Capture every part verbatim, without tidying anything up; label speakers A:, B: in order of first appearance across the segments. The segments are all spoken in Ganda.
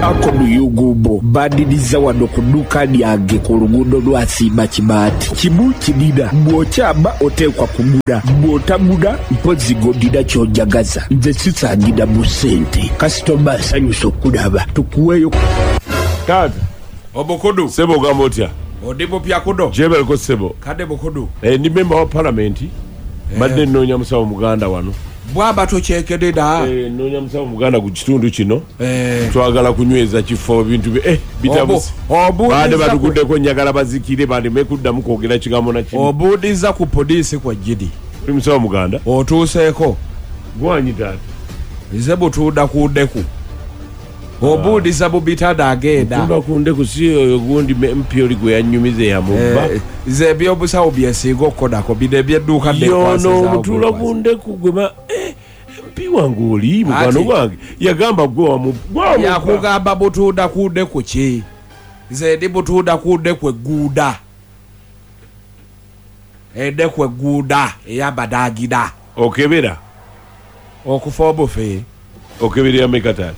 A: Akonu Yugumbo bandiriza wano ku dduuka lyange ku luguudo lwa Simba Kibaati. Kimu kinina, bw'okyama oteekwa kugula, bw'otagula mpozzi ng'odira ky'onjagaza. Nze sisangira mu ssente, kasitoma asanyusa okulaba, tukuweeyo.
B: Taata.
C: Obukudu.
B: Sebo, ogamba otya?
C: Odi bupya kudo.
B: Jebaleko, sebo.
C: Kade bukudu.
B: Eh, ndi memba wa palamenti, mbadde nnoonya musawo muganda wano.
C: Bwaba tokyekededa.
B: Eh, nnoonya musawo muganda ku kitundu kino.
C: Eh.
B: Twagala kunyweza kifo, ebintu bye- eh, bitabuse.
C: Obu-
B: Baade
C: obuuliza ku-
B: batuguddeko, njagala bazikire baleme kuddamu kwogera kigambo na kimu.
C: Obuuliza ku poliisi kwa jidi.
B: Oli musawo muganda?
C: Otuuseeko.
B: Gwanyi, taata?
C: Nze butuuda ku ndeku. Obuuliza bubitada agenda.
B: Tunda ku ndeku, si oyo gundi M P oli gwe yannyumiza eyamubba?
C: Eh, nze ebyobusawo byesinga okukodako, bino ebyedduuka.
B: Yono omutuula ku ndeku gwe ba eh, M P wange, oli mukwano
C: Ati.
B: gwange, yagamba gwe wamu- gwe wamubba.
C: Yakugamba butuuda ku ndeku ki? Nze ndi butuuda ku ndeku egguuda, endeku egguuda eyabadagida.
B: Okebera?
C: Okufa obufe.
B: Okeberera meka, taata?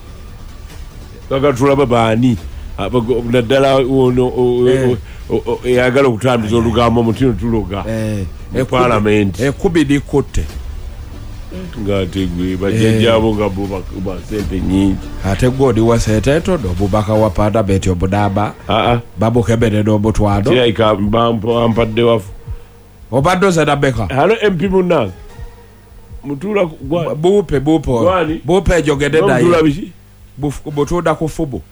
B: Kaga tulaba baani Abago- naddala ono o-
C: Eh.
B: o- o- eyagala okutambuza olugambo mutino tuloga
C: Eh,
B: mu palamenti.
C: Ekkubi likutte.
B: Ng'ate gwe bajjajjaabo nga bo bakuba sente nyingi.
C: Ate gwe oli wa sente entono, omubaka wa palamenti omunamba
B: Aa.
C: bamukeberera omutwalo.
B: Kirabika bampadde wafu.
C: Obadde ozena meka?
B: Hello, M P munnange, mutuula ku- gwa-
C: Buupe, buupe.
B: Gwani?
C: Buupe ejogedde.
B: Mutuula
C: Naye
B: biki?
C: Buf- butuuda ku fubu.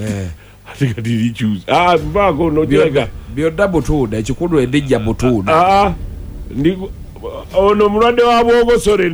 C: Eh,
B: ate kati likyusa. Ah, mpaako no kirabika.
C: Byonna butuuda, ekikulu endijja butuuda.
B: Aa, ndi ono omulwadde wa bwogosole.